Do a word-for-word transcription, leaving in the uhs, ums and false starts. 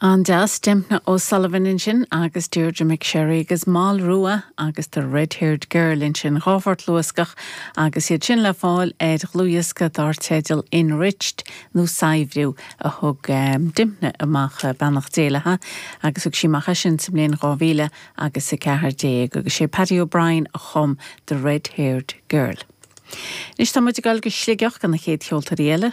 An-deas Dympna O'Sullivan ansin agus Deirdre McSherry agus Mal Rua agus the Red-Haired Girl ansin dhá phort luascach agus iad sin le fáil ar dhlúthdhiosca dar teideal Enriched nó Saibhriú a thug um, Dympna amach eh, beannacht Dé léi agus thug sí amach sin sa mbliain dhá mhíle agus a ceathair déag agus sé Paddy O'Brien a chum the Red-Haired Girl. Anois tá muid ag dul go Sligeach an na chéad cheoltóirí eile